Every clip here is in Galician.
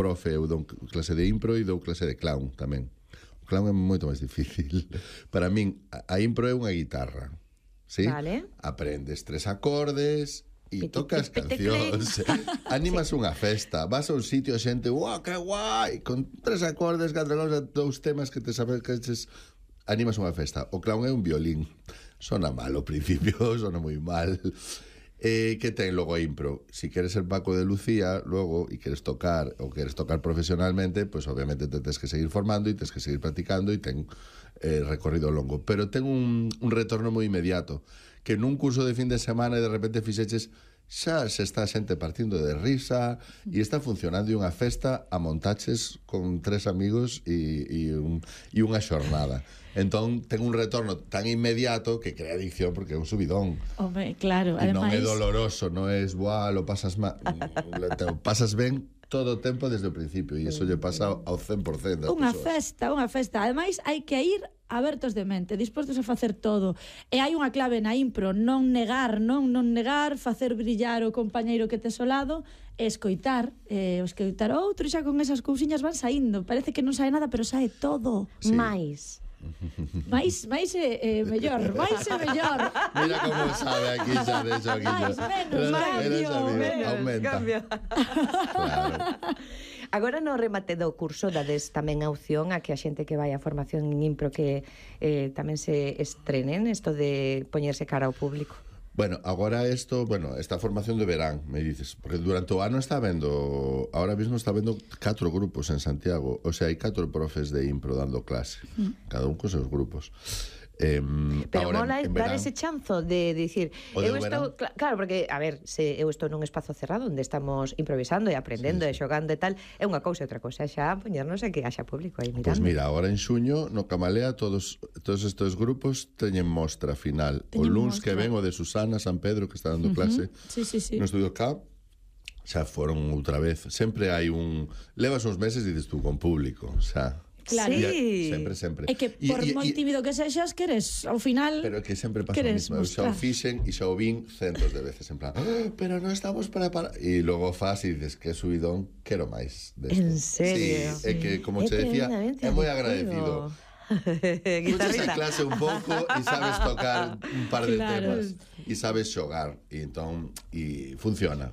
profe, eu dou clase de impro e dou clase de clown tamén. O clown é moito máis difícil. Para min, a impro é unha guitarra, ¿sí? Vale. Aprendes 3 acordes e tocas cancións. Animas unha festa, vas a un sitio, a xente, ¡guau, que guai! Con 3 acordes, 4 acordes, 2 temas que te sabes que animas unha festa. O clown é un violín. Sona mal ao principio, sona moi mal. Que ten logo a impro? Si queres ser Paco de Lucía logo e queres tocar profesionalmente, pues obviamente te tens que seguir formando e tens que seguir practicando e ten recorrido longo, pero ten un retorno moi inmediato, que nun curso de fin de semana de repente fixeches, xa se está a xente partindo de risa e está funcionando unha festa a montaches con 3 amigos e unha xornada. Entón ten un retorno tan inmediato que crea adicción porque é un subidón. Home, claro, e ademais... non é doloroso, non é lo pasas mal, pasas ben todo o tempo desde o principio e iso lle pasa ao 100% das persoas. Unha festa. Ademais, hai que ir abertos de mente, dispostos a facer todo. E hai unha clave na impro, non negar, facer brillar o compañeiro que tes ao lado, e escoitar outro, xa con esas cousiñas van saindo. Parece que non sae nada, pero sae todo. Sí. Mais é mellor. Mira como sabe aquí xa de eso aquí. Menos cambio. Claro. Agora no remate do curso dades tamén a opción a que a xente que vai a formación en impro que tamén se estrenen isto de poñerse cara ao público. Bueno, agora esta formación de verán, me dices, porque durante o ano ahora mismo está vendo 4 grupos en Santiago, o sea, hai 4 profes de impro dando clase, cada un con seus grupos. Pero mola dar ese chanzo de dicir eu estou, claro, porque, a ver, se eu estou nun espazo cerrado onde estamos improvisando e aprendendo e xogando e tal, é unha cousa, outra cousa xa poñernos a que haxa público aí mirando. Pois mira, agora en xuño no Camalea todos estes grupos teñen mostra final. O luns que ven o de Susana San Pedro que está dando clase no Estudio K, xa foron outra vez. Sempre hai levas uns meses e dices tú con público, xa. Claro. Sí. Sempre. É que por moi tímido que sexas, queres, ao final... Pero que sempre pasa o mismo. Eu xa o fixen e xa o vin centos de veces, en plan, pero non estamos para... E logo faz e dices, que subidón, quero máis desto. En serio? Sí, é que, como che decía, é moi agradecido. Escuchas a clase un pouco e sabes tocar un par de temas e sabes xogar e entón funciona.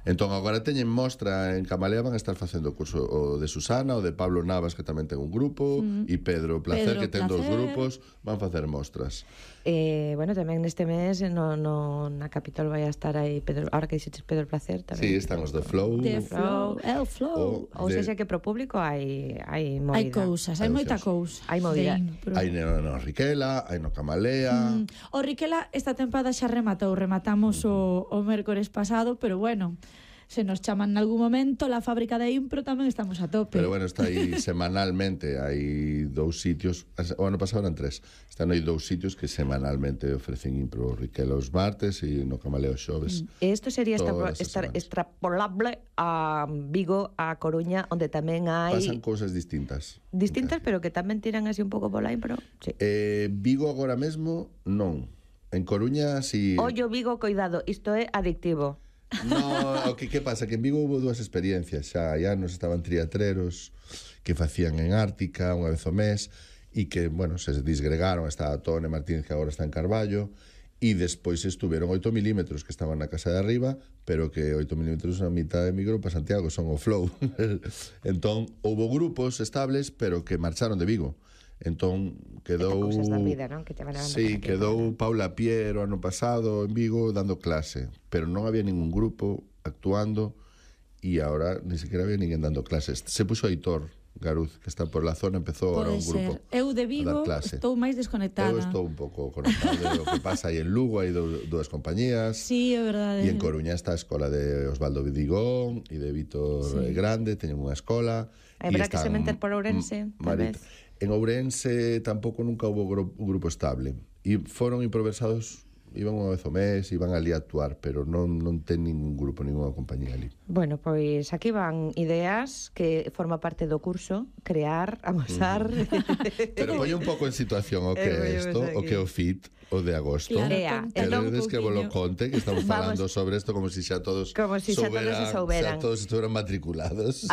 Entón, agora teñen mostra en Camalea, van a estar facendo o curso o de Susana, o de Pablo Navas, que tamén ten un grupo, e Pedro Placer, que ten 2 grupos, van facer mostras. Bueno, tamén neste mes na Capitol vai a estar aí Pedro, ahora que dixetes Pedro Placer tamén. Sí, están os de Flow. El Flow. Ou seja que pro público hai movida. Hai cousas, hai moita cousa. Hai movida. Hai no Riquela, hai no Camalea. O Riquela esta tempada xa rematamos o mércores pasado, pero bueno, se nos chaman en algún momento, la fábrica de impro tamén estamos a tope. Pero bueno, está aí semanalmente, hai 2 sitios, o ano pasado eran 3, están aí 2 sitios que semanalmente ofrecen impro, Riquela os martes e no Camaleo os xoves. Isto sería extrapolable a Vigo, a Coruña, onde tamén hai... Pasan cousas distintas. Distintas, pero que tamén tiran así un pouco pola impro. Sí. Vigo agora mesmo, non. En Coruña, si... Ollo, Vigo, coidado, isto é adictivo. No, que pasa? Que en Vigo houve 2 experiencias xa, nos estaban triatleros que facían en Ártica unha vez ao mes e que, bueno, se disgregaron, estaba Tone Martínez que agora está en Carballo e despois estuveron 8 milímetros que estaban na casa de arriba, pero que 8 milímetros a mitad emigrou para Santiago, son o Flow. Entón, houve grupos estables, pero que marcharon de Vigo. Entón quedou vida, ¿no? Que te van quedou Paula Piero ano pasado en Vigo dando clase, pero non había ningún grupo actuando e agora ni siquiera había ninguén dando clases. Se puxo Aitor Garuz, que está por la zona, empezou ahora un grupo. Eu de Vigo estou máis desconectada. Eu estou un pouco conectada do que pasa aí en Lugo, hai 2 compañías. Sí, é verdade. E en Coruña está a escola de Osvaldo Vidigón e de Vítor Grande, teñen unha escola. É verdad que se meter por Ourense, tal vez. En Ourense tampouco nunca houve un grupo estable e foron improvisados, iban unha vez ao mes, iban ali a actuar, pero non ten ningún grupo, ninguna compañía ali. Bueno, pois aquí van ideas que forma parte do curso, crear, amosar... Pero poñe un pouco en situación o que é isto, o que é o FIT, o de agosto. Claro, queredes que vos lo conte, que estamos falando sobre isto como se xa todos souberan. Xa todos estuvieran matriculados.